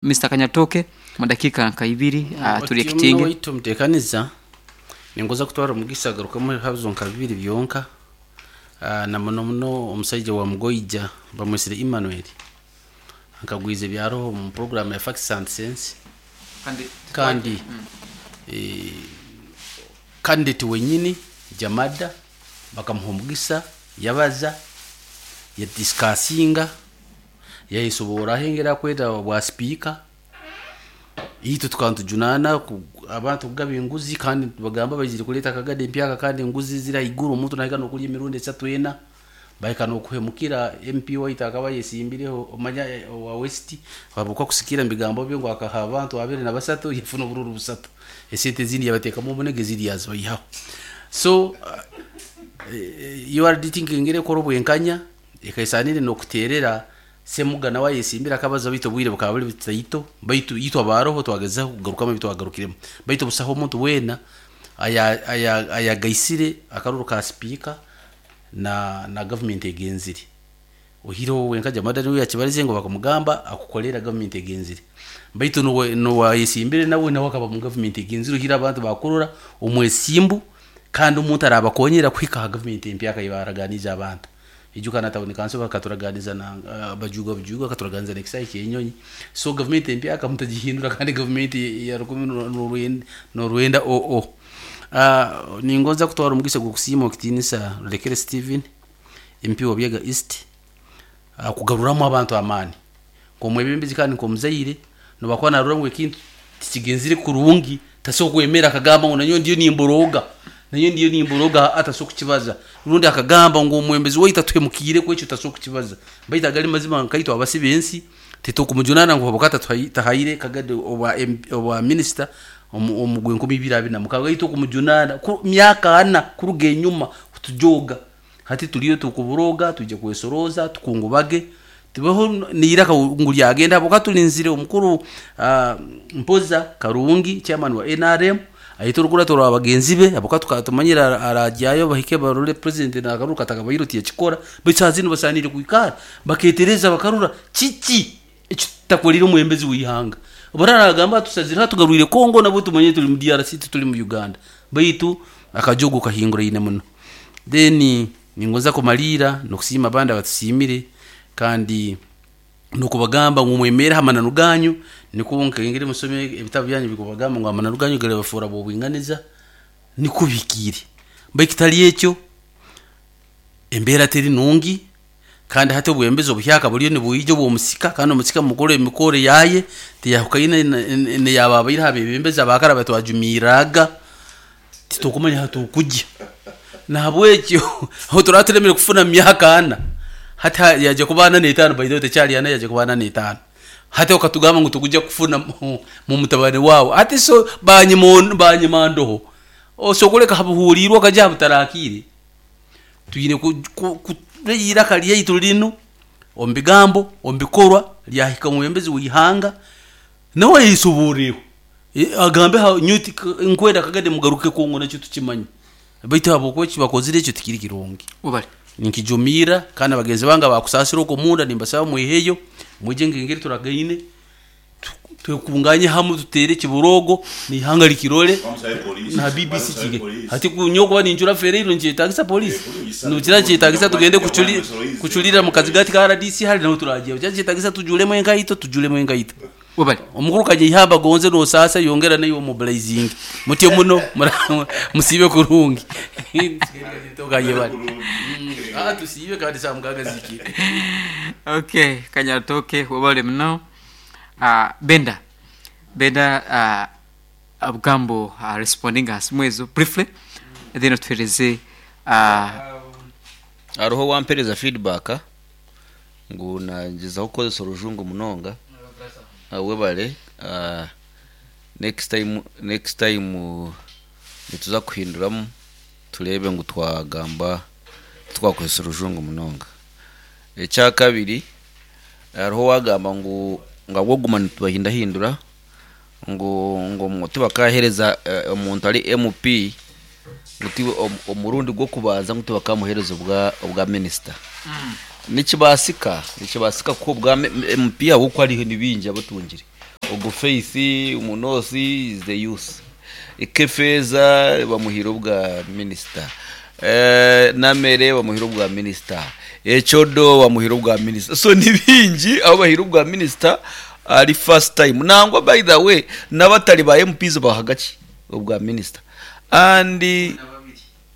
Mister Kanyatooke mu dakiika nka ibiri Otyo waitu omuteekaniza, ningoza kutwara omugisa agarukemu ebihabuzo nka bibiri byonka. Na muno muno omusaija wa Mugoija bamwesire Emmanuel ankagwize ebyaroho omu program ya Facts and Sense kandi candidate wenyini Jamada bakamuha omugisa yabaza, ya discussinga, yayesoboraho engeri akweta obwa sipiika. Itwe tukaba nitujunaana abantu kugaba enguzi kandi nibagamba baizire kureeta akagade empyaka kandi enguzi ziri ahaiguru, omuntu nahika n'okurya emirundi esatu ena, bahika n'okuhemukira MP waitu akaba ayesimbireho omanya owa West habw'okuba kusikiira omu bigambo bye ngu akaha abantu 23 yafuna obururu busatu, esente ezindi yabateekamu omunega ezindi yazibayihaho. So URD tinkengeri ekora obwenkanya ekaesaanire n'okuteerera Semuga nawe ayesimbire akabaza baitu obwire bukaba buri butaito, baitu itwe abaroho twagezaho kugarukamu ebi twagarukiremu. Baitu busaho omuntu weena ayagaisire akaruru ka sipiika na gavumenti egenzire. Oihireho wenka Jamada niwe yakibarize ngu bakamugamba akukorera gavumenti egenzire. Baitu n'owayesimbire nawe nawe akaba omu gavumenti egenzire oihireho abantu bakurora omwesimbu kandi omuntu arabakonyera kuhika aha gavumenti empyaka ei baraganiize abantu. Ijuka na tawuni kanso bakaturaganiza na Bajuga Bujuga akaturaganiza n'ekisaayi ky'enyonyi. So gavumenti empyaka mutagihindura kandi gavumenti ya 19 oo. Ningonza kutwara omugisa gw'okusiima ow'ekitiinisa Rurekere Stephen, MP wa Buyaga East, kugaruramu abantu amaani. Nk'omwebembezi kandi nk'omuzaire, n'obu akuba naarora ngu ekintu tikigenzire kurungi, tasobola kwemera akagamba ngu nanyowe ndiyo nimborooga, nanyowe ndiyo nimborooga, aa tasobola kukibaza. Rundi akagamba ngu omwebembezi waitu atuhemukiireku, ekyo tasobola kukibaza. Baitu agali mazima nkaitwe abasi b'ensi, titukumujunana ngu habwokuba tahaire Kagadi obwa minisita omu gwenkumi ibiri abiri na mukaaga. Itwe okumujunana myaka ana kuruga enyuma kutujooga. Hati turiyo tukuborooga, twija kwesorooza, tukungubage, tubeho n'eiraka ngu ryagenda habwokuba turinzire omukuru Mpoza Karungi chairman wa NRM aite orukurato rwa bagenzi be habwokuba tukaba tumanyire aragyayo bahike barore president nakaruru katakabaire tiyakikora baitu saaha zinu basaaniire kwikara baketereza bakarora kiki eki tutakorire omwebembezi w'eihanga. Obu aragamba atusazireho atugarwire Congo nabwo tumanyire turi mu DRC tituri mu Uganda baitu akajogo kahinguraine muno. Then ningonza kumaliira n'okusiima abandi abatusiimire kandi n'okubagamba ngu mwemere aha mananu ganyu nikwo nkengeri musome ebitabu byanyu bikubagamba ngu amananu ganyu garibafoora b'obwinganiza nikwo bihikiire. Baitu kitari ekyo embeera teri nungi kandi hati obwebembezi obuhyaka buriyo nibwija obw'omusika kandi omusika mukuru emikoro yaaye tiyahukaine n'eyababaire aha bebembezi abakare abatwajumirraga titukumanya ahu turikugya. Nahabwekyo ahu turaba turemire kufuna omu myaka ana, hati yaija kuba ana n'etaano by the way tekyari ana yaija kuba ana n'etaano. Hati okatugamba ngu tikuja kufuna mu mutabani waawe, hati so banyima ndoho, osobola kureka aha buhuriirwe okagya aha butarakiire. Twine kuba eiraka ryaitu rinu omu bigambo, omu bikorwa ryahika omwebembezi w'eihanga nawe ayesoboreho agambe nyowe nkwenda Kagame mugaruke Congo nakyo tukimanye baitu ahabw'okuba eki bakozire ekyo tikiri kirungi. Webale. Ninkijumirra kandi na bagenzi bange abakusaasira okwo omunda nimbasaba mweheyo mwije nk'engeri turagaine twekunganye hamwe tuteere ekiboroogo n'eihanga rikirore na BBC kige. Hati nyowe kuba nincura Ferreiro nikyetagisa police? Nokira nikyetagisa tugende kucurira omu kazigati ka RDC hare naho turagihayo. Nikyo nikyetagisa tujuremu enkaito tujuremu enkaito. Webale. Omukuru Kanyeihamba gonze nosaasa yongera naiwe omobilizinge. Mutyo muno musiibe kurungi. Tusiibe kandi saaha mukaaga zihikire. Okay, Kanyatooke webale muno. Benda, Benda obugambo respondinga aha simu ezo briefly then otuhereze. Hariho owampereza feedback ngu nagyezaho kukozesa orujungu munonga. Webare next time next time nituza kuhinduramu tureebe ngu twagamba titwakozesa orujungu munonga. Ekyakabiri hariho owagamba ngu ahabw'okuguma nitubahindahindura ngu ngu tibakahereza omuntu ari MP ngu omurundi gw'okubanza ngu tibakamuhereza obwa minisita. Nikibaasika nikibaasika kuha obwa MP ahabw'okuba hariho ni baingi abatungire. Ogu Faith omu North is the youth. Kefeeza bamuhaire obwa minisita. Namere bamuhaire obwa minisita. Ecodo bamuhaire obwa minisita. So ni bingi abu bahaire obwa minisita ari first time. Nangwa by the way n'abatari ba MPs bahaga ki obwa minisita. And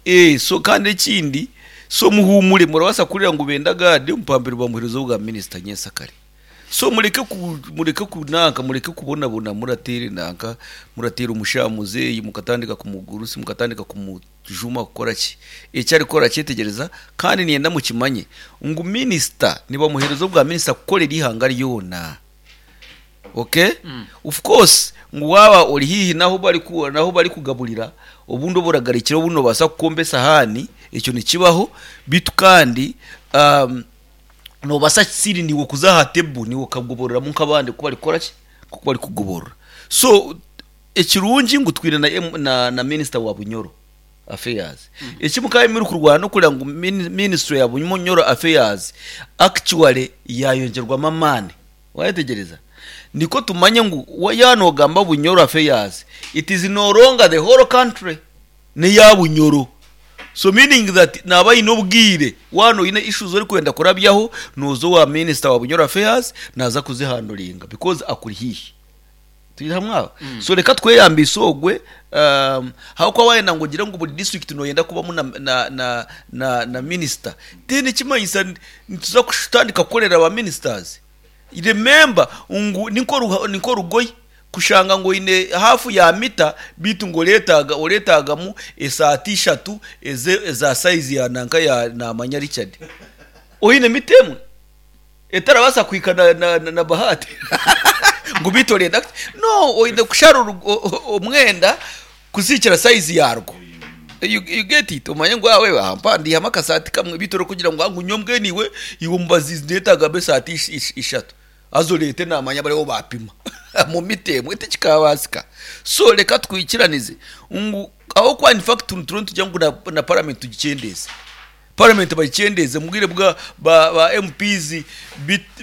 eh, so kandi ekindi so muhuumure murabaasa kuhurira ngu Benda Gad omupambiro bamuheereza obwa minisita nyensakare. So mureke ku mureke ku nanka mureke kubonabona murateera enanka murateera omushaija muzeeyi mukatandika kumugurusi mukatandika kumujuma kukora ki eki arikukora akyetegyereza kandi niinyenda mukimanye ngu minisita nibamuheereza obwa minisita kukorera eihanga ryona okay of course ngu waaba ori haihi n'ahu bariku n'ahu barikugaburira obundi oburagarikira obundi noobaasa kukomba esahaani ekyo nikibaho beitu kandi Noobaasa siri niiwe kuza aha table niiwe okagobororamu nk'abandi oku barikukora ki, nk'oku barikugoborora. So ekirungi ngu twine na M na na minisita wa Bunyoro Affairs. Eki mukaba murikurwana n'okureba ngu mini ministry ya Bunyoro Affairs actually yaayongyerwamu amaani. Waayetegyereza? Nikwo tumanye ngu wa yaaba noogamba Bunyoro Affairs, it is no longer the whole country. N'eya Bunyoro. So meaning that naaba aine obwire, waaba oine issues orikwenda kurabyaho, nooza owa minister wa Bunyoro Affairs naaza kuzihanduringa because akuri haihi. Turi hamwe aho? So reka tweyambise ogwe, ahabw'okuba waayenda ngu ogire ngu buri district nooyenda kubamu na na na na na minister, then ekimanyisa nituza kutandika kukorera ba ministers. Remember ngu ni nk'orugoye kushanga ngu oine haafu ya mita beitu ngu oreetaaga oreetaagamu esaati ishatu eza sayizi ya nanka ya naamanya Richard. Oine mita emwe etarabaasa kuhika na, na, na, na Bahati ngu beitu orenda kuti? No, oine kushara omwenda kuziikira sayizi yaarwo. You, you get it? Omanye ngu awe aha mpa ndihamu akasaati kamwe beitu orikugira ngu ngu nyowe mbwenu iwe iwe omubaziizi ndeetaaga esaati ishatu haza oreete naamanya bariho baapima omu mita emwe tikikaabaasika. So reka twikiranize ngu ahabw'okuba in fact nituriyo nitugira ngu na, na parliament tugikyendeeze. Parliament bagikyendeeze omu bwire bwa ba, ba MPs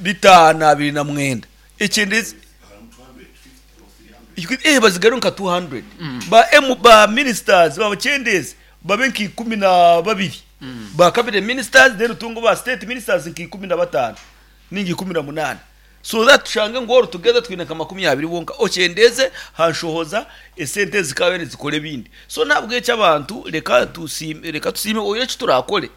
bitaano 29 ekyendeeze. Eh, bazigaruke nka 200 ba M ba ministers babakyendeeze babe nka 12 ba cabinet ministers then otunge ba state ministers nka 15 ninga 18 so that tushange ngu all together twine nka 20 bonka okyendeeze ha nshohoza esente ezikaba nizikora ebindi so nahabwekyo abantu reka tusiime reka tusiime oine eki turakore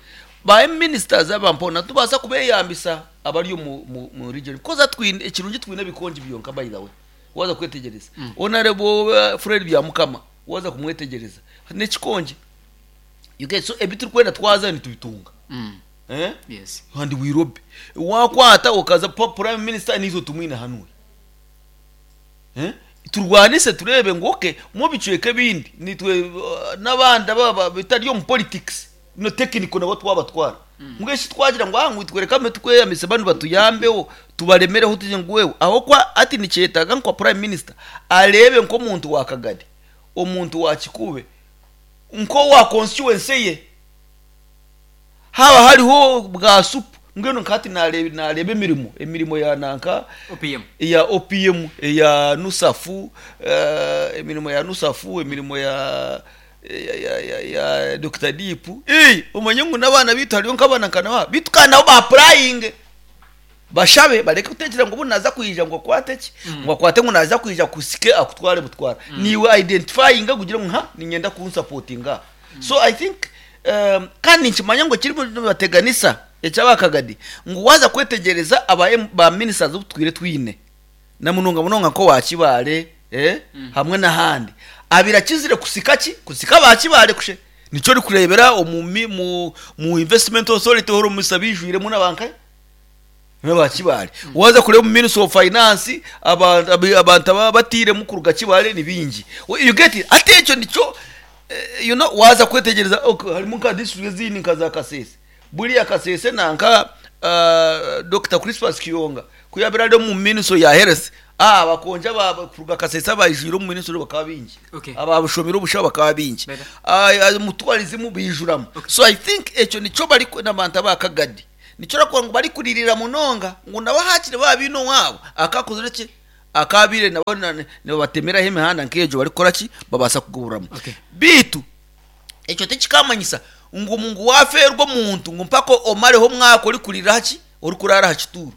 ba ministers aba mpona tubaasa kubeyambisa abari omu mu mu region because hati twine ekirungi twine ebikongi byonka by the way waaza kwetegyereza Honourable Fred Byamukama waaza kumwetegyereza n'ekikongi you get so ebi turikwenda twaza nitubitunga eh Yes. and we lobby wakwata okaza pa prime minister niitwe tumwine hanuya eh turwanise tureebe ngu okay mu bicweka ebindi nitwe n'abandi aba bitari omu politics no technical nabo twabatwara mbwenu shi twagira ngu ngu itwe reka tukweyamise banu batuyambeho tubaremereho tugire ngu wewe ahabw'okuba hati nikyetaaga nka prime minister areebe nk'omuntu wa Kagadi omuntu wa Kikuube nk'owa constituency ye Haaba hariho bwa supu, mbwenu nka hati naareeba emirimo, emirimo ya nanka, OPM. eya OPM, eya NUSAF, emirimo ya NUSAF, emirimo ya ya ya ya ya Dokita Deep, ee omanye ngu n'abaana baitu hariyo nk'abaana nka naba, beitu kandi nabo baapurayinge. Bashabe bareke kutekyereza ngu obu naaza kwija ngu akwate ki, ngu akwate ngu naaza kwija akusike akutware butwara. Niiwe identifyinga ogire ngu ha niinyenda kunsapotinga aha. So I think kandi ninkimanya ngu ekirimu nibateganisa eky'abakagadi ngu waaza kwetegyereza aba ba ministers obu tutwire twine na munonga munonga nk'owa Kibaale hamwe n'ahandi abaire akizire kusika ki? Kusika aba Kibaale kushe. Nikyo orikureebera omu mu investment authority hora omu abaijwiremu n'abankahi? N'aba Kibaale. Waaza kureeba omu Ministry of Finance, abantu aba batairemu kuruga Kibaale ni baingi. You get it? Hati ekyo nikyo you know, waaza kwetegyereza ok, harimu nka district ezindi nka za Kasese. Buriya Kasese nanka Dokita Crispus Kiyonga ku yaabaire ari omu Ministry ya Health, abakongi aba kuruga Kasese abaijwire omu Ministry bakaba baingi. Okay. Abashomire obushaho bakaba baingi. Better. Omu tourism baijuramu. So I think ekyo nikyo bari n'abantu aba Kagadi. Nikyo orikureeba ngu barikuririra munonga ngu nabo haakiri baaba baine owaabo akaakozire ki? Akaabaire nabo nibabatemeraho emihanda nk'egyo barikukora ki? Babaasa kugoborwamu. Okay. Beitu ekyo tikikamanyisa ngu ngu waafeerwa omuntu ngu mpaka omareho omwaka orikurira aha ki? Orikuraara aha kituuro.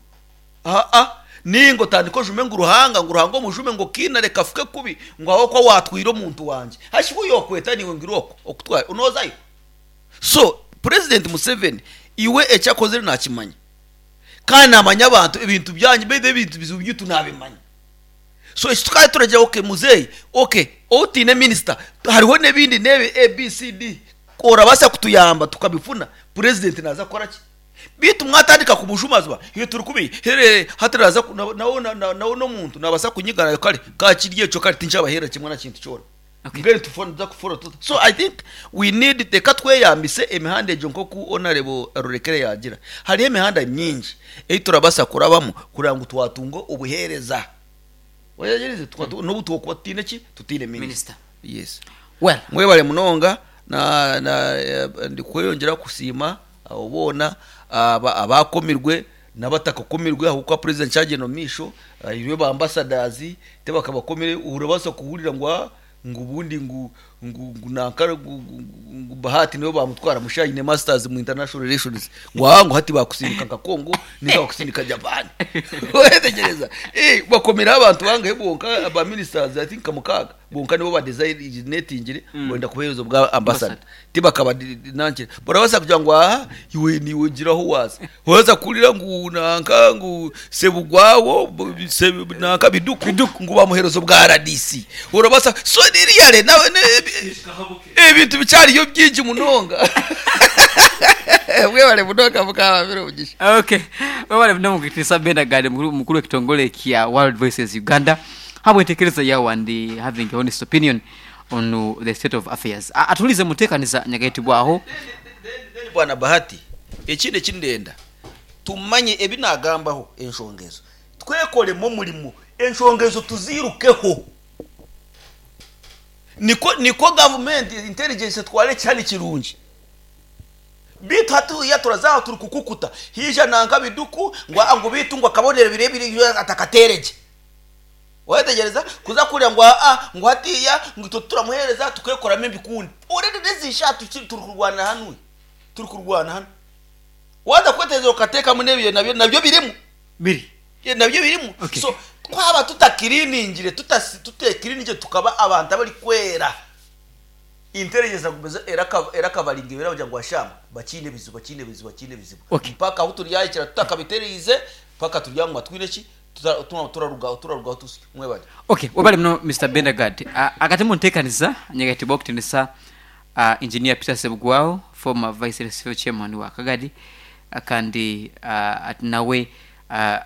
Aa, nainga otandike ojume ngu Ruhanga, ngu Ruhanga omujume ngu okiina reka afuke kubi ngu ahabw'okuba waatwire omuntu wangye. Hashi we yookweta naiwe ngu irooko okutware, noozayo? So, Purezidenti Museveni iwe eki akozire naakimanya. Kandi naamanya abantu, ebintu byanyu, beitu ebintu bizibu byaitu naabimanya. So eki tukaba turagira okay muzeeyi, okay otaine minisita, hariho n'ebindi n'ebi A, B, C, D, orabaasa kutuyamba tukabifuna, purezidenti naaza kukora ki? Beitu mwatandika kumujumazuma, itwe turi kubi, here hati naaza nawe nawe n'omuntu naabaasa kunyiga kare ka kiri ekyo kare tinkyabaheerera kimwe na kintu kyona. Okay. Mbwenu tufo nituza kufora tuta? So I think we need reka tweyambise emihanda egyo nk'oku Honourable Rurekere yaagira. Hariho emihanda mingi ei turabaasa kurabamu kureba ngu twatunga obuheereza. Oyegyerize? N'obu twokuba tutaine ki? Tutaine Minister. minister. Yes. Well, Mwebale munonga na na ndikweyongyera kusiima abo boona aba abaakomirwe N'abatakakomirwe ahabw'okuba president kyagyenda omu maisho ahairwe ba ambassadors tibakabakomire orabaasa kuhurira ngu aa ngu obundi ngu ngu ngu nanka ngu ngu Bahati niwe bamutwara musha aine masters mu international relations ngu aa ngu hati bakusindika nka Congo ninga bakusindika Japan oyetegereza bakomireho abantu bangahe bonka ba ministers I think nka mukaaga Kwonka nibo badesignatingire kwenda kuheereza obwa ambassador. Tibakaba nankire. Barabaasa kugira ngu aha iwe niiwe gira ahu waaza. Orabaasa kuhurira ngu nanka ngu Sebugwawo nanka Biduku ngu bamuheereza obwa RDC. Orabaasa so really nawe ebintu bikyariyo bingi munonga. Mwebare munonga Mukama abahe omugisha. Okay. Webale munonga Mukitiinisa Benagadi mukuru w'ekitongore kya World Voices Uganda. Habw'entekereza yaawe and having a honest opinion on the state of affairs. Atulize mutekaniza nyagaitibwaho. Then Bwana Bahati, ekindi eki ndenda tumanye ebi nagambaho enshonga ezo twekoremu omurimo enshonga ezo tuzirukeho nikwo nikwo gavumenti intelligence etwara ekihani kirungi beitu hatiiya turaza aha turi kukukuta haija nanka biduku ngu aa ngu beitu ngu akabonero ebiro ebi atakateere gye. Wayetegyereza? Kuza kuhurira ngu aa ngu hatiiya ngu itwe tituramuheereza tukeekoramu ebikundi. Already n'ezi shaaha turi turikurwanira hanu, turikurwana hanu. Waaza kwetegyereza okateekamu n'ebyo nabyo nabyo birimu. Biri. Nabyo birimu. Okay. So twaba tutakiriiningire tutasi tuteekiriiningire tukaba abantu abarikwera, intelligence eragumiza eraka erakabaringa erabagira ngu ashaama bakiine ebizibu bakiine ebizibu bakiine ebizibu. Okay. Mpaka ahu turyahikira tutakabitereize mpaka turyaguma twine ki? Turarugaho tusyo. Mwebale. Ok webale muno Mister Bendergard. Akati muntekaniza nyegaitibwa okutinisa Engineer Peter Ssebugwawo former Vice LC Chairman wa Kagadi kandi ati nawe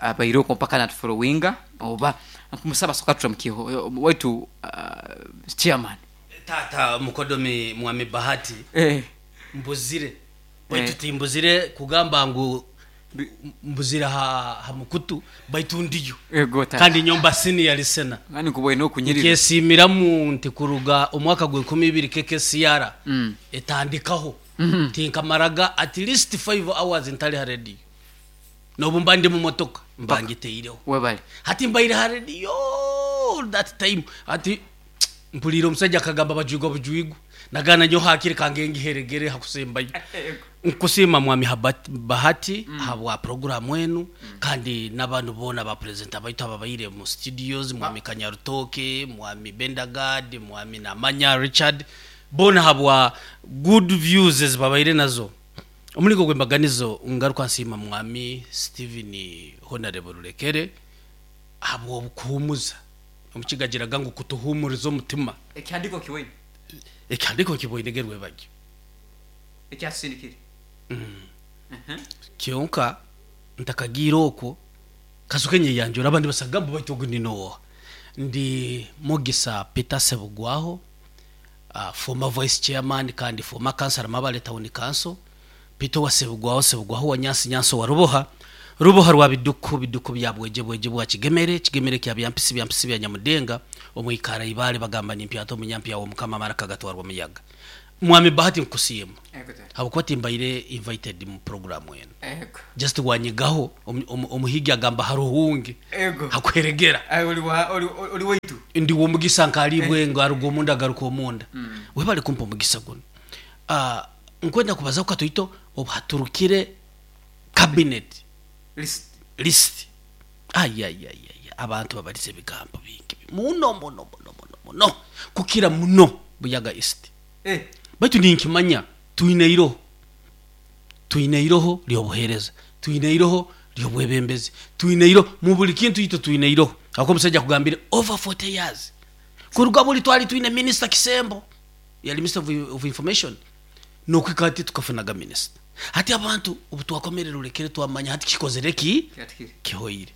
abaire okwo mpaka natufolowinga oba nkumusaba soka turamukiho waitu Chairman. Taata mukodomi Mwami Bahati mbuzire baitu timbuzire kugamba ngu Mbuzire aha mukutu baitu ndiyo. Ego tata. Kandi nyowe mba senior listener. Kandi nkubwoine okunyirira. Nkyesiimiramu nti kuruga omwaka gw'enkumi ibiri KKCR etandikaho, tinkamaraga at least five hours ntari ha radio. N'obu mba ndi mu motoka, mba ngiteireho. Webale. Hati mbaire ha radio all that time. Hati mpuriire omushaija akagamba bajwigwa bujwigwa. Nagamba nyowe hakiri kange ngiheregere ha kusembayo. Nkusiima Mwami Habert Bahati ahabwa puroguraamu enu kandi n'abantu boona ba purezenta baitu ababaire omu studios, Mwami Kanyarutooke, Mwami Bendagard, Mwami Namanya Richard, boona ahabwa good views ezi babaire nazo. Omuringo gw'embaganizo ngaruka nsiima Mwami Steven Honarebo Rurekere ahabw'okuhuumuza, Omukiga agiraga ngu kutuhuumuriza omutima. Ekihandiiko kiboine. Ekihandiiko kiboine ge rwebagyo. Ekyatusindikire. Kyonka ntakagiire okwo, kasoke nyeyanjure abandi basagambe baitu ogu ni nooha? Ndi Mugisa Peter Ssebugwaho, former vice chairman kandi former councillor Mabale Town Council, Peter owa Ssebugwaho, Ssebugwaho owa Nyansi, Nyansi owa Ruboha, Ruboha rwa Biduku, Biduku bya Bwegye, Bwegye bwa Kigemere, Kigemere kya Byampisi, Byampisi bya Nyamudenga, Omwikaara Ibaale bagamba nimpyata omunyampya w'Omukama amaraka gatwarwa omuyaga. Mwami Bahati nkusiima habwokuba timbaire invited mu program enu. Just wanyigaho omuhigi agamba haruhungi hakuheregera. Ndi w'omugisa nkaribwe ngu aruga omunda agaruka omunda. Webale kumpa omugisa gunu. Nkwenda kubazaho katoito obu haturukire cabinet list. Ayayayaya abantu babarize ebigambo bingi muno muno muno muno muno kukira muno Buyaga East. Baitu ninkimanya twine eiroho, twine eiroho ry'obuheereza, twine eiroho ry'obwebembezi, twine eiroho mu buri kintu itwe twine eiroho. Ahabw'okuba omusaija akugambire over 40 years kuruga buri twali twine minisita Kisembo yali minister of information n'okuhika hati tukafunaga minisita. Hati abantu obu twakomerera orekere twamanya hati kikozire ki? Kihoire.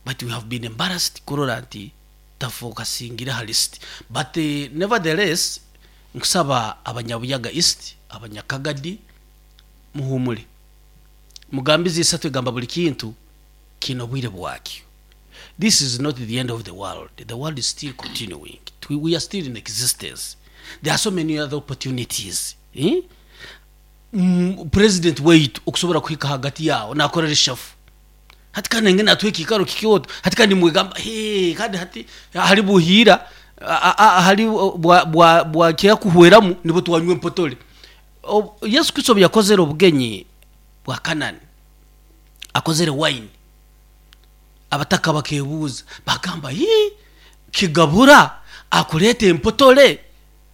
But we have been embarrassed kurora nti tafokasingire aha list. But nevertheless nkusaba abanyabuyaga East, abanyakagadi muhumure. Mugambizi isatu egamba buri kintu kiine obwire bwakyo. This is not the end of the world, the world is still continuing, we are still in existence, there are so many other opportunities. Eh? President waitu okusobora kuhika hagati yaabo nakora reshafu hati kandi nainga natuha ekiikaro kikooto hati kandi nimwegamba hee kandi hati hari buhiira hari bwakira kuhweramu nibwo twanywa empotore. Yesu Kristo obu yakozere obugenyi bwa Kanani akozere wine abataka bakebuuza bagamba hii kigabura akureeta empotore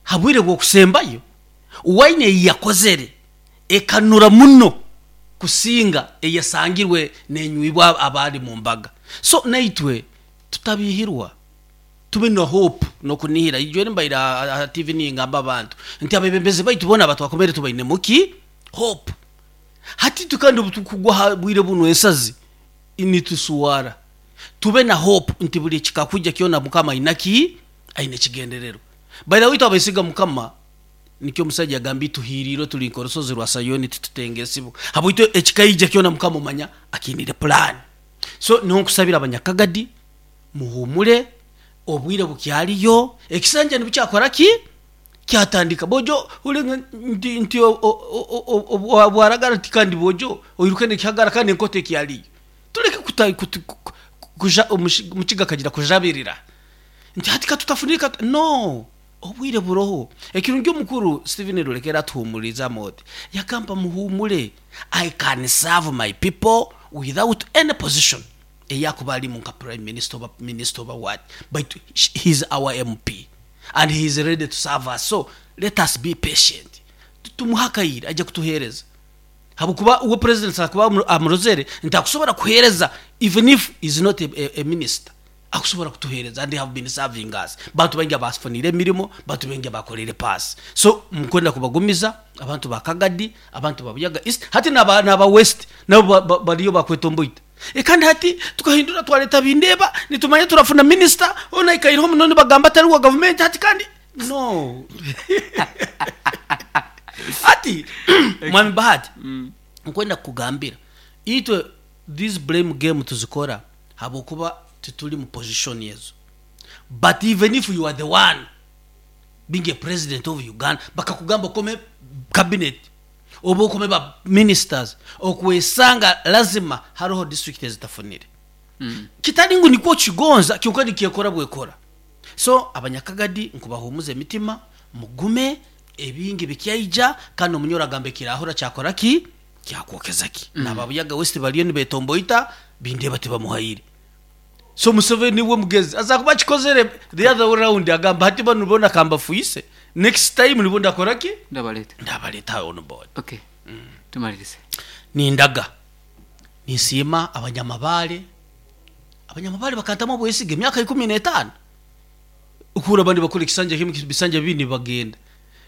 ha bwire bw'okusembayo? Wine ei yakozere ekanura muno kusinga eyasangirwe nenywibwa abaali mu mbaga. So naitwe tutabihirwa, tube na hope nokunihira. Ijweri mbaire aha TV ningamba abantu nti abebembezi baitu boona abatwakomere tubainemu ki? Hope. Hati itwe kandi obutukugwa aha bwire bunu ensazi nituswara. Tube na hope nti buri ekikakwija kyona Mukama aine ki? Aine ekigendererwa. By the way itwe abesiga Mukama Nikyo omusaija yagambire, Tuhiiriirwe turi nk'orusozi rwa Sayoni, titutengeesibwa. Habwaitu ekikaija kyona Mukama omanya akiinire pulaani. So niho nkusabira abanyakagadi, muhuumure, obwire bukyariyo, ekisanja nibukyakora ki? Kyatandika. Boojo hurire nti nti bwaragara nti kandi boojo oiruke n'ekihagara kandi enkoto ekyariyo. Tureke kuta kuja omukiga akagira kujabirira nti hati katutafunire katu no. Obwire buroho. Ekirungi omukuru Steven Rulekera atuhumurizamu oti, Yagamba muhumure, I can serve my people without any position ei akuba arimu nka Prime Minister oba Minister oba what, baitu he is our MP and he is ready to serve us so let us be patient tumuhe akaire aije kutuhereza habwokuba uwe President akuba amurozere nti akusobora kuhereza even if he is not a minister. Akusobora kutuhereza and they have been serving us. Bantu baingi abafuniire emirimo, bantu baingi abakoreire paasi. So nkwenda kubagumiza abantu ba Kagadi, abantu ba Buyaga East, hati naba naba West nabo bariyo bakwetomboita. E kandi hati tukahindura twareta Bindeeba, nitumanya turafuna minister, hoona aikaireho muno nibagamba atari wa gavumenti hati kandi no. Hati Mwami Bahati, nkwenda kukugambira itwe these blame game tuzikora Habwokuba tituri mu position ezo but even if you are the one being a president of Uganda bakakugamba okome cabinet oba okome ba ministers okwesanga lazima haroho district ezitafunire kitari ngu nikwo okigonza kyonka nikyekora bwekora so abanyakagadi nkubahumuza emitima mugume ebingi bikyaija kandi omunyoro agamba ekirahura kyakora ki? Kyakwokeza ki? N'aba Buyaga West bariyo nibetomboita Bindeeba tibamuhaire. So Museveni we mugezi aza kuba akikozere the other way round agamba hati banu boona kambafuise next time nibwo ndakora ki? Ndabareeta. Ndabareeta on board. Okay. Tumaririze. Nindaga ninsiima abanyamabaare, abanyamabaare bakantamu obwesige emyaka 15 okuhurira abandi nibakora ekisanja kimwe ebisanja bibiri nibagenda.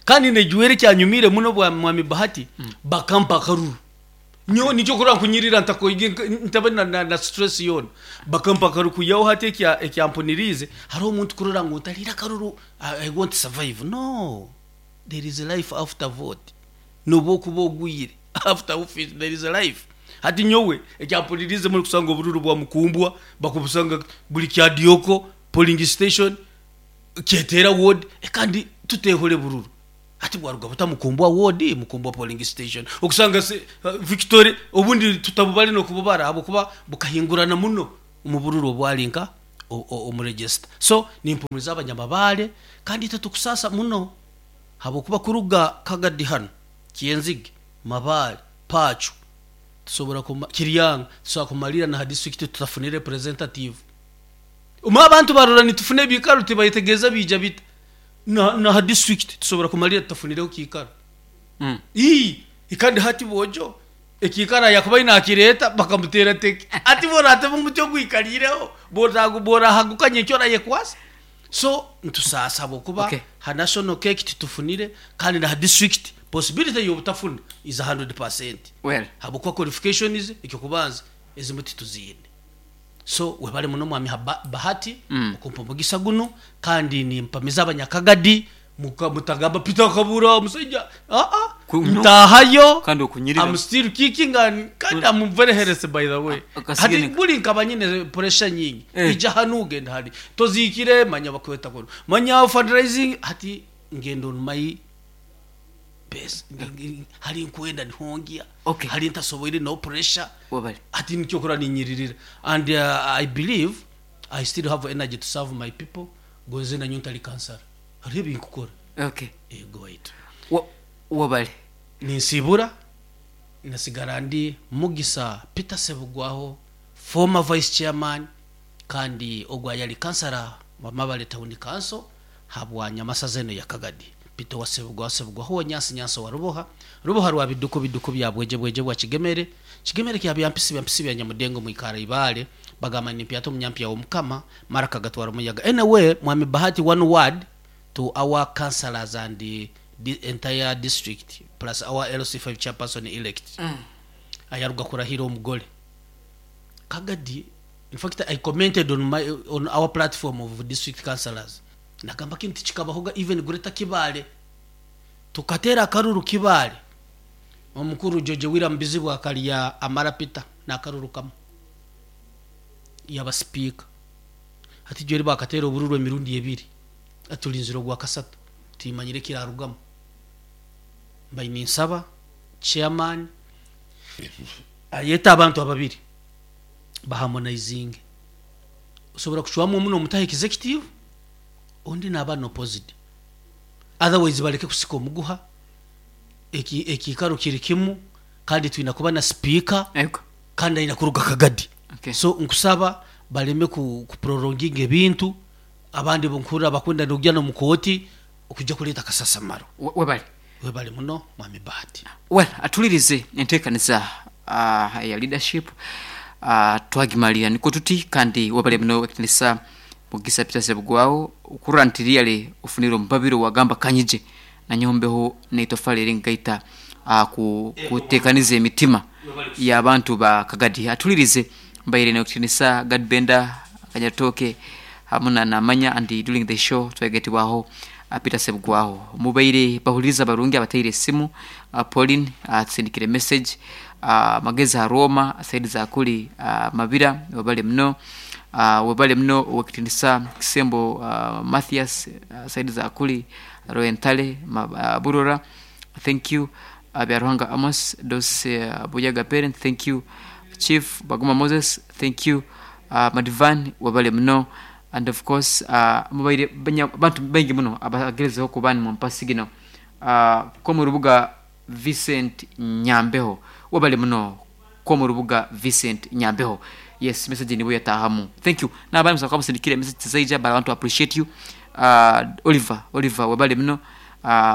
Kandi nejwera ekyanyumiire muno bwa Mwami Bahati bakampa akaruru. Nyowe nikyo okurora nkunyirira ntakoige ntabe na, na, na stress yoona. Bakampa akaruru kwihaho hati ekya ekyampuniriize hariho omuntu kurora ngu ntariire akaruru I, I won't survive. No, there is life after vote. Nobu okuba ogwire after office there is life. Hati nyowe ekyampuniriize muno kusanga obururu bwa Mukumbwa bakubusanga buri Kyadiyoko polling station Kyetera ward kandi tutehore bururu. Hati bwaruga buta Mukumbwa ward, Mukumbwa polling station okusanga Victory obundi tutabubare nokububara ahabwokuba bukahingurana muno omu bururu obwari nka omu register. So nimpumuriza abanyamabare kandi itwe tukusaasa muno ahabwokuba kuruga Kagadi hanu, Kyenzige, Mabare, Pacho tusobora kuma Kiryanga tusobora kumarira naha district tutafunire representative. Omwe abantu barora nitufuna ebiikaro tibayetegereza biija bita. Na naha district tusobora kumalira tutafunireho kiikaro. Ii kandi hati bwojo ekiikaro ayakubaire nakireeta bakamuteera teke. Hati bworatema omuti ogwikariireho bworahaguka nyenkya orayekwasa? So nitusaasa ahabwokuba Okay. ha national cake titufunire kandi naha district possibility yobutafuna is 100%. Well. Ahabwokuba qualifications ekyokubanza ezimwe tituziine. So webare muno mwami Bahati okumpa omugisa gunu kandi nimpamiza abanyakagadi mutagamba Peter akabura omusaija aa ntahayo Kandi okunyirira. I'm still kicking and kandi I'm very healthy by the way. Akasiga Hati nika. buri nkaba nyine pressure nyingi Eh. ija hanu genda hari tozikire manya bakweta kunu manya fundraising hati ngenda on my pace. Hari nkwenda nihongia Okay. hari ntasoboire no pressure. Wabare. Hati nikyo okora ninyiririra and I believe I still have energy to serve my people gonze nanyo ntari kansara hariho ebinkukora. Okay. Ego waitu. Wabare. Ninsibura nasigara ndi Mugisa Peter Sebugwaho former vice chairman kandi ogwo ayari kansara wa Mabale Town Council habwa Nyamasaza eno ya Kagadi. Peter wa Sebugwaho Sebugwaho wa Nyansi Nyansi wa Ruboha Ruboha rwa Biduku Biduku bya Bweje Bweje bwa Kigemere Kigemere kya Byampisi Byampisi bya Nyamudengo mwikara Ibale bagamba ni mpyato munyampya w'Omukama mara kagatwara omuyaga. Anyway, Mwami Bahati, one word to our councillors and the entire district plus our LC5 chairperson elect ayaruga kurahira omugore Kagadi. In fact, I commented on my on our platform of district councillors nagamba kintu kikabahoga even greater Kibale tukatera akaruru Kibale omukuru George William Bizibu akarya amara Peter nakaruru kamwe yaba speaker. Hati jeri bakatera obururu emirundi ebiri atulinzire ogwa kasatu timanyire kirarugamu. Mbaye ninsaba chairman ayeta abantu ababiri baharmonizing osobora kucwamu omu nomutaha executive ondi naba opposite, otherwise bareke kusika omuguha ekiikaro kiri kimu kandi twina kuba na speaker Ego. kandi aina kuruga Kagadi. Okay. So nkusaba bareme ku prolonginga ebintu abandi bunkurira bakunda nokujya no mukoti okujja kuleta kasasamaro. Webale. Webale muno mwami Bahati. Well, atulirize enteekaniza ya leadership twagimalira niko tuti kandi webale muno ekitinisa Mugisa Peter Sebugwaho okurora nti really ofunire omubabiro wagamba kanyije nanyombeho neitofali eringaita kuteekaniza emitima y'abantu ba Kagadi. Atulirize mbaire nekitinisa Gadbenda Kanyatoke hamwe na Namanya and during the show twegetibwaho Peter Sebugwaho. Mubaire bahuliriza barungi abataire esimu, Pauline atusindikire message, Magezi ha Roma saidi za kuli, Mabira webale muno, webale muno owekitinisa Kisembo, Mathias, saidi za kuli Royentale Burora, thank you, Byaruhanga Amos Dos, Buyaga parent, thank you, Chief Baguma Moses, thank you, Madivan webale muno, and of course mubaire bantu baingi muno abagerezeho kuba ni mumpasi gino, ko mu rubuga Vincent Nyambeho webale muno ko mu rubuga Vincent Nyambeho. Yes, message nibo yatahamu, thank you. N'abandi musaba musindikire message zaija, but I want to appreciate you, Oliver webale muno,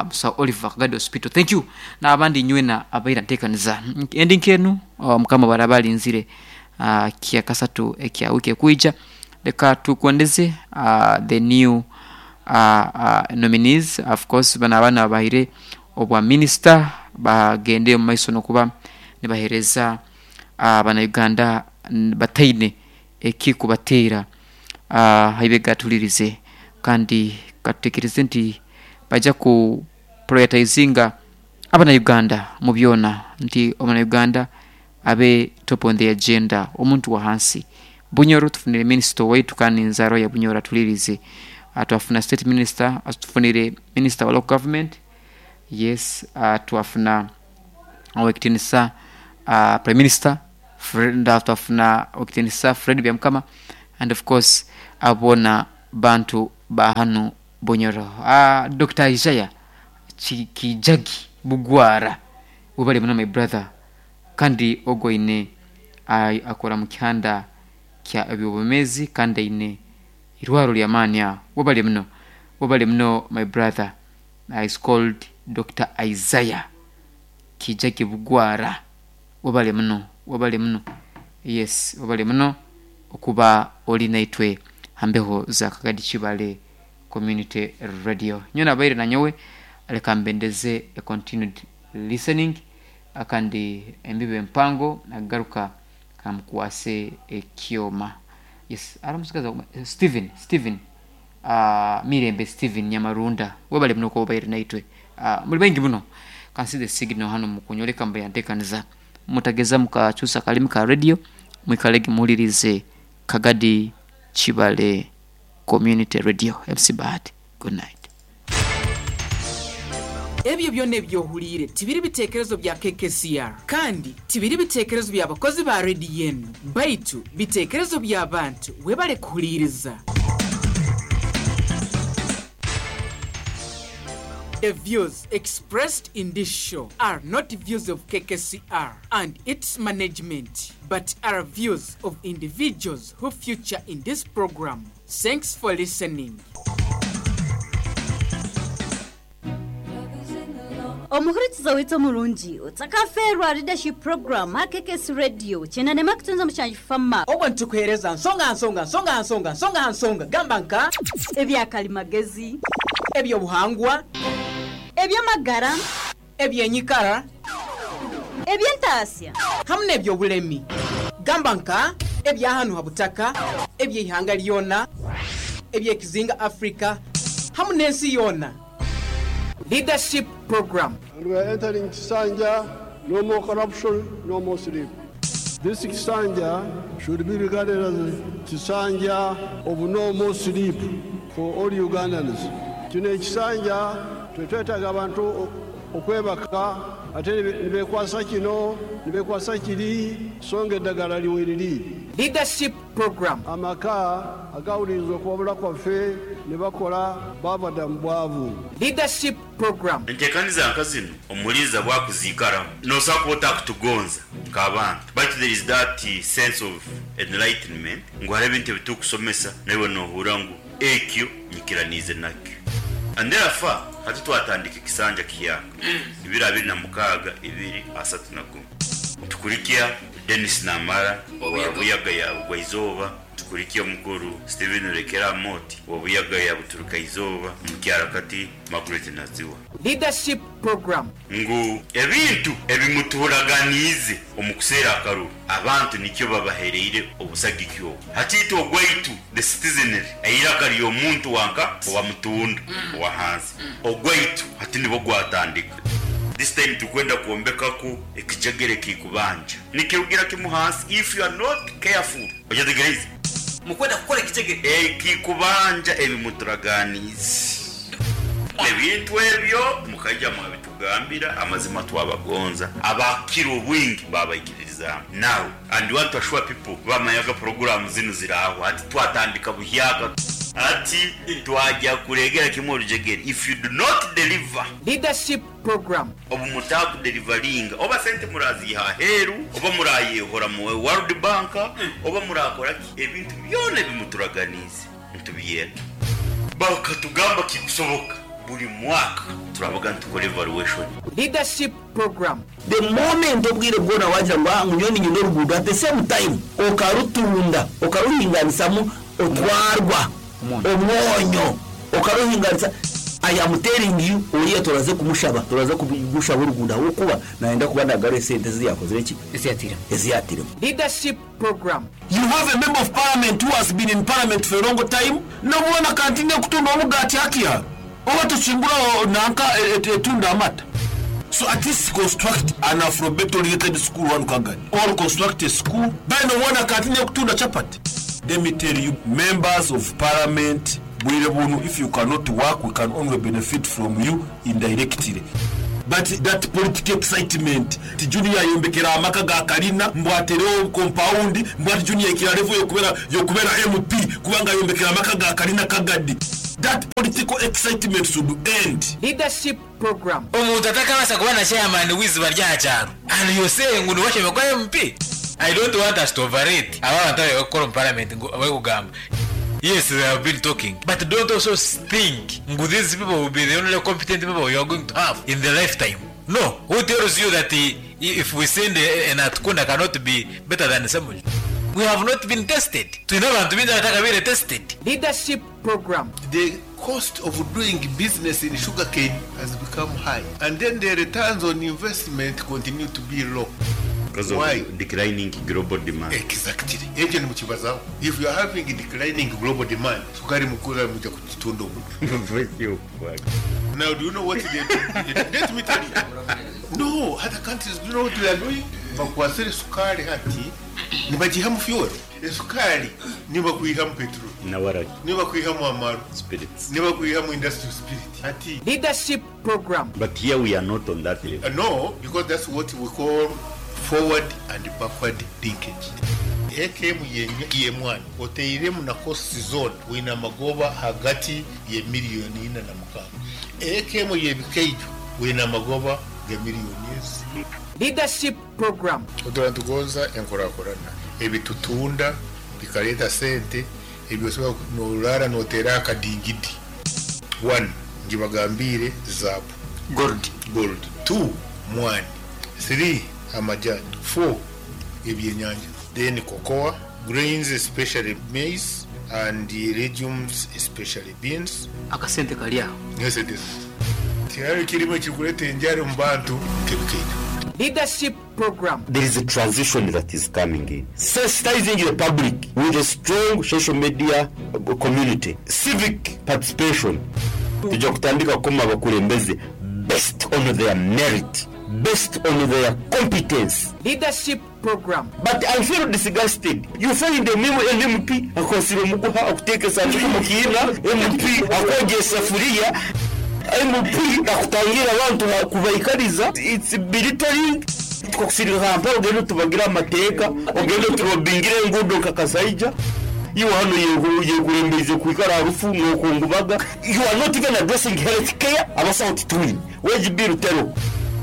Musa Oliver Kagadi Hospital, thank you. N'abandi nywena abaira ntekaniza endi nkenu, mukama barabalinzire kia kasatu ekya wiki ekwija. Leka tukwendeze the new nominees. Of course bano abaana bahire obwa minister bagende omu maiso nokuba nibahereza abanauganda bataine ekikubateera haibega tulirize kandi katutekereze nti baja ku prioritizinga abanauganda mu byona nti omunauganda abe top on the agenda omuntu wa hansi. Bunyoro tufunire minister waitu kandi nzaro ya Bunyoro atulirize, twafuna state minister, atufunire minister wa local government. Yes, twafuna owekitinisa Prime Minister twafuna owekitinisa Fred Byamukama and of course abo boona bantu ba hanu Bunyoro. Dr. Isaiah Kijagi Bugwara, webale muno my brother, kandi ogwo aine akora mu kihanda kya ebyobwomezi kandi aine irwaro ly'amaani aho. Webale muno, webale muno my brother. Is called Dr. Isaiah Kijagi Bugwara. Webale muno, webale muno. Yes, webale muno okuba oli naitwe ha mbeho za Kagadi Kibale Community Radio. Nyowe nabaire nanyowe, leka mbendeze a continued listening kandi embibo empango nagaruka kamukwase ekyoma. Yes, ari omusigazi Steven, Steven Mirembe Steven Nyamarunda, webale muno okuba obaire naitwe. Muri baingi muno, kansize signal hanu mukunyoleka mbu yantekaniza. Mutageza mukakyusa akalimi ka radio, mwikalege muhulirize Kagadi Kibale Community Radio. MC Bahati, good night. Ebyo byona ebi ohuliire tibiri bitekerezo bya KKCR kandi tibiri bitekerezo bya bakozi ba rediyo enu, baitu bitekerezo by'abantu. Webale kuhuliiriza. The views expressed in this show are not views of KKCR and its management, but are views of individuals who feature in this program. Thanks for listening. Omuhurikiza waitu omurungi otakafeerwa Leadership Program aha KKS Radio kyenda nema kutunza mushanju fama. Obwo nitukuheereza nsonga aha nsonga, nsonga aha nsonga, nsonga aha nsonga, gamba nka. Ebya karimagezi. Eby'obuhangwa. Eby'amagara. Eby'enyikara. Eby'entaasya. Hamwe n'eby'obulemi, gamba nka ebya hanu ha butaka, eby'eihanga ryona, eby'ekizinga Africa hamwe n'ensi yoona. Leadership Program. And we are entering Kisanja, no more corruption, no more sleep. This Kisanja should be regarded as Kisanja of no more sleep for all Ugandans. Kino ekisanja tetwetaaga abantu okwebaka ate nibekwasa kino nibekwasa kiri so nga eddagala liweriri. Leadership Program. Amaka agawuliriza okuwabula kwaffe ne bakola baava dda mu bwavu. Leadership Program. Entekaniza nka zinu omuhuliriza bwakuziikaramu nosobola kuba otakutugonza nk'abantu baitu there is that sense of enlightenment ngu hariho ebintu ebitukusomesa naiwe nohurra ngu ekyo nyikiraniize nakyo and therefore hati twatandika ekisanja kihyaka ibiri abiri na mukaaga ibiri asatu na gumu tukurikya Denis Namara owa Buyaga ya Bugwaizooba Tukurikye omukuru Stephen Rekera Amooti owa Buyaga ya Buturuka-izooba omukyara-kati Margaret Naziwa. Leadership Program. Ngu ebintu ebimutuhuraganiize omu kuseera akaruru, abantu nikyo babahereire obusagiki obu. Hati itwe ogwaitu, the citizenry, eiraka ry'omuntu wanka owa mutunda owa hansi, ogwaitu hati nibwo gwatandika. This time turikwenda kwombekaku ekijegere ekikubanja. Nikirugira kimwe hansi if you are not careful. Okyetegereize? Mukwenda kukora ekijegere. Ekikubanja ebi muturaganiize. Ebintu ebyo mukaija mwabitugambira amazima twabagonza abakira obwingi babaikiririzaamu. Now and want to assure people bamanyaga puroguramu zinu ziraaho hati twatandika buhyaka. Hati twagya kuregera kimwe orujegere if you do not deliver. Leadership Program. Obu mutaakudelivaringa oba sente muraziiha aheeru oba murayehora mu World Bank oba murakora ki ebintu byona ebi muturaganiize nitubyenda. Bakatugamba kikusoboka buri mwaka turabaga nitukora evaluation. Leadership Program. The moment obwire bwona wagira ngu ah ngu nyowe niinyenda oruguudo at the same time okarutunda okaruhinganisamu otwarwa omwonyo okaruhinganisa I am telling you oriya turaza kumushaba turaza kumushaba oruguudo ahabw'okuba nayenda kuba nagarura esente ezi yakozire ki Ezi yatiiremu. ezi yatiiremu. Leadership Program. You have a member of parliament who has been in parliament for a long time nobu weena akantinia kutunda omugaati hakiha oba tukingura nanka etunda amata. So at least construct an alphabet oriented school wanu Kagadi or construct a school then nobu weena akantinia kutunda chapati. Let me tell you members of parliament. Bwire bunu if you cannot work we can only benefit from you indirectly. But that political excitement nti Junior ayombekera amaka ga kalina, mbu aterewo compound, mbu ati Junior aikira level yokubera yokubera MP kubanga ayombekera amaka ga kalina Kagadi. That political excitement should end. Leadership Program. Omuntu atakabaasa kuba na chairman w'eiziba ry'aha kyaro and you're saying ngu niwe ashemereire kuba MP? I don't want us to overrate aba abantu abarikukora omu parliament ngu abarikugamba yes they have been talking but don't also think ngu these people will be the only competent people you are going to have in the lifetime no who tells you that if we send a Natukunda cannot be better than Ssemujju we have not been tested twine abantu baingi abatakabaire tested. Leadership Program. The cost of doing business in sugarcane has become high and then the returns on investment continue to be low. Because of Why? declining global demand. Exactly. Ekyo nimukibazaho. If you are having declining global demand, sukari mukura muja kugitunda omu. Now do you know what they do? Let me tell you. No, other countries do you know what they are doing? Bakwasire sukari hati nibagihamu fuel. Esukari nibakwihamu petrol. Na waragi. Nibakwihamu amaru. Spirits. Nibakwihamu industrial spirit. Hati Leadership Program. But here we are not on that level. No, because that's what we call forward and backward linkage. AKM y'emwani oteiremu na cost zone wine amagoba hagati ye miliyoni ina na mukaaga. AKM y'ebikaijo wine amagoba ga miliyoni ezi. Leadership Program. Otura nitugonza enkurakurana ebitutunda bikareeta sente ebyosobola norara noteera akadingidi. One, ngibagambiire zaabu. Gold. Gold. Two, mwani. Three, amajani. Four, ebyenyanja. Then cocoa, grains especially maize and legumes especially beans. Akasente kari aho. Niyo sente Tihariho ekirimu ekirikureeta enjara omu bantu nk'ebikaito. Leadership Program. There is a transition that is coming in. Sensitizing the public with a strong social media community. Civic participation. Tuja kutandika kukoma abakulembeze based on their merit, based on their competence. Leadership Program. But I feel disgusted. You find an MP akwasire omuguha akuteeka esanduku omu kiina, MP akwogya esafuriya, MP akutangira abantu kubaikariza. It's belittling. Tukakusirika Kampala ogende otubagire amateeka, ogende oturobingire enguudo nka Kasaija. Iwe hanu yekurembeize kwikara aha rufu nokungubaga. You are not even addressing health care, abasaho titwine. Wage bill teriho.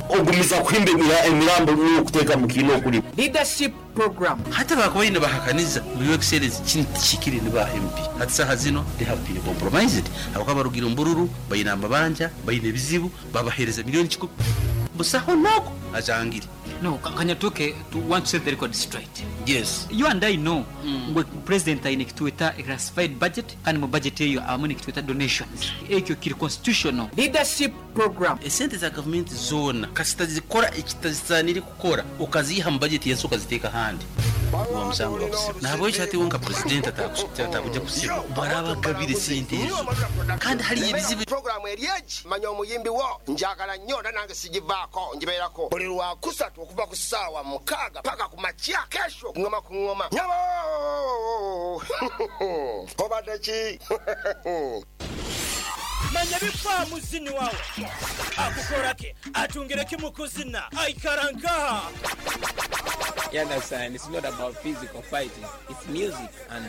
Ogumiza kuhimba emirambo nokuteeka mu kiina okurima. Leadership Program. Hati abakubaire nibahakaniza ngu Your Excellency kinu tikihikire ni ba MP. Hati saaha zinu they have been compromised ahabw'okuba barugire omu bururu, baine amabanja, baine ebizibu, babaheereza milioni kikumi. Busaho n'ogwo ajangire. No, kanyatuke to want to set the record straight. Yes. You and I know ngu president aine ekitweta classified budget kandi mu budget eyo abamu nekitweta donations. Ekyo kiri constitutional. Leadership Program. Esente za gavumenti zoona kasita zikora ekitazisaanire kukora okaziiha mu bajeti y'ensi okaziteeka ahandi guba musango gwa kusiba. Nahabwekyo hati iwe nka purezidenti atakuja kusiba bwaraaba agabire esente ezo kandi hariyo ebizibu. Pulogulaamu eri egi, Manya Omuyimbi Wo, ngyagala nnyo era nange sigivaako, ngibeerako buli Lwakusatu okuva ku ssaawa mukaaga paka ku makya. Kesho ngoma ku ngoma. Nyabo! Obadde ki? Manya ebifa muzini wawe akukora ki, atungire ki mu kuzina, aikara nkaha? You understand? It's not about physical fighting. It's music. And,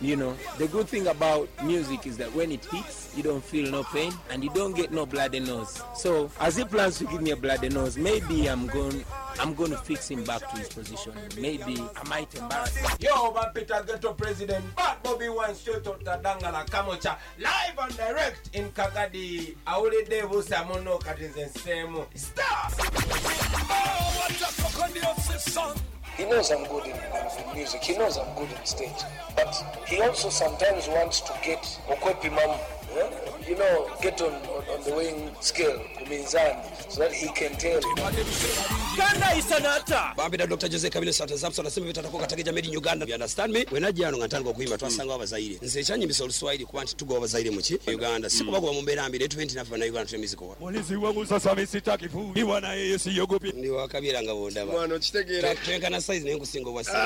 you know, the good thing about music is that when it hits, you don't feel no pain and you don't get no bloody nose. So, as he plans to give me a bloody nose, maybe I'm going to fix him back to his position. Maybe I might embarrass him. Yo, man, Peter Ghetto President, Bad Bobby Wine, straight out Dangala Kamocha, live and direct in Kagadi. Awulidde busa muno kati nze nseemu. Stop! Oh, what a fucking song. He knows I'm good in music. He knows I'm good in stage. But he also sometimes wants to get okwepimamu, yeah? You know, get on the weighing scale, ku minzani, so that he can tell. Kanda isanata. Bambira Dr. Jose Kabile Santa Zapson asema bitatakuwa katika made in Uganda. You understand me? Wenajja wano nga ntandika okuyimba twasanga abazaire. Nze ekyanyimbisa Oluswahili kuba nti tugoba abazaire mu ki? Uganda. Si kubagoba mu mbeera mbi, naye tube nti naffe bannayuganda tuli miziko. Mulinzi wangu sasa mimi sitaki kufiwa na yeye siogopi. Ndi wa Kabira nga bw'ondaba. Mwana okitegeera. Twenkana size naye nkusinga obwa size.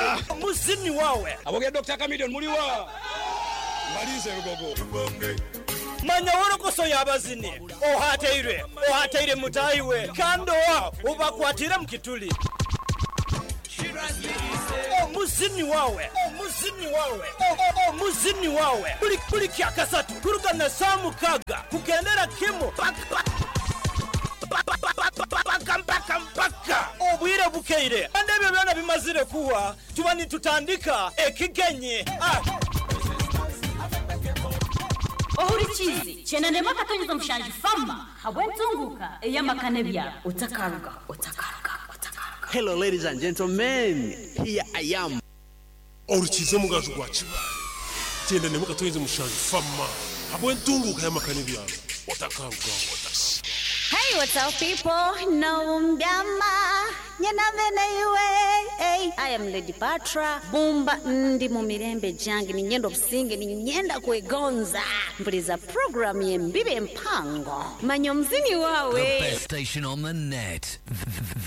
Muzini wawe. Abogera Dr. Chameleone muliwa. Balinze Lugogo. Manya wolokoso y'abazini, ohateirwe, ohateire mutaahi we, kandi owa obakwatiire mu kituli. Omuzini wawe, omuzini wawe, omuzini wawe, buli buli kyakasatu kuruga na saa mukaga kugendera kimu paka paka mpaka mpaka obwire bukeire. Kandi ebyo byona bimazire kuwa tuba nitutandika ekigenyi. Ah. Ohurikiize kyenda 7.7 fama habw'entunguka ey'amaka n'ebyaro otakaruga otakaruga. Hello, ladies and gentlemen. Here I am. Orukize omugaju gwa Kibaale 94.7 fama habw'entunguuka y'amaka n'ebyaro otakarugaho. Hey, what's up, people? Naumbyama nyenameneiwe. Hey, I am Lady Patra Bumba ndi mu mirembe gyange ninyenda obusinge ninyenda kwegonza mpuliza program y'embibe empango manya omuzini wawe. The best station on the net.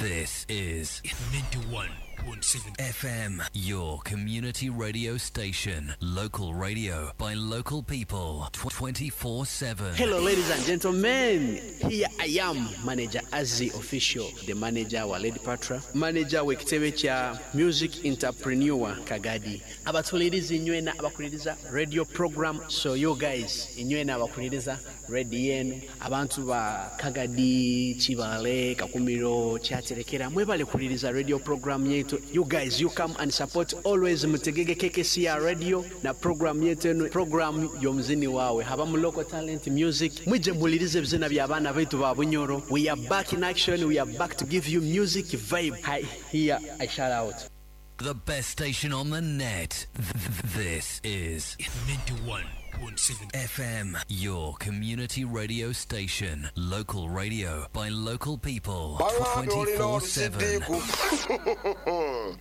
This is 91.7 FM, your community radio station. Local radio by local people 24/7. Hello, ladies and gentlemen. Here I am, Manager Azzi Official, the manager wa Lady Patra, manager w'ekitebe kya Music Entrepreneur Kagadi. Abatuliriza inywena abakuliriza radio program. So you guys, inywena abakuliriza radio yenu, abantu ba Kagadi, Kibale, Kakumiro, Kyaterekera, mwebale kuliriza radio program yetu. You guys, you come and support always mutegege KKCR radio na program yetu eno, program y'omuzini wawe. Habamu local talent music. Mwije mulirize ebizina by'abaana baitu ba Bunyoro. We are back in action. We are back to give you music vibe. Hi, here I shout out. The best station on the net. This is 91.7 FM, your community radio station. Local radio by local people Baŋŋambye olina 24/7. olusiddiiku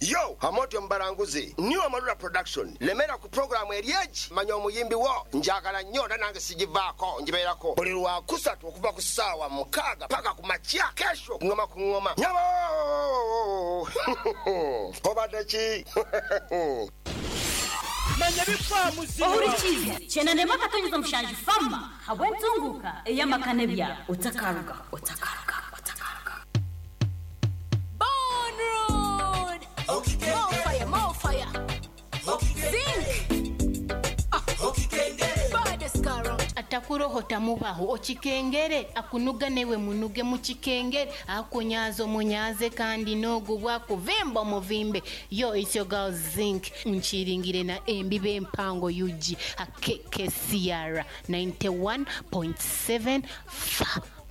yo amotyo mubalanguzi new amalula production lemera ku puroguramu eri egi manya omuyimbi wo njagala nnyo era nange sigivaako ngibeerako buli lwakusatu okuva ku ssaawa 6 paka ku makya kesho kuŋoma ku ŋŋoma nyabo obadde ki? Manya bifa muzini. Ohurikiize 94.7 fama habw'entunguka ey'amaka n'ebyaro otakaruga otakaruga. Born Road. More fire, more fire. Zinc. Baddest car round. Atakuroho tamubaho okikengere akunuga newe munuge mukikengere akunyaza omunyaze kandi n'ogubwa kuvimba omuvimbe. Yo, it's your girl Zinc nkiringire na embibe empango UG akekesiara 91.7 fa.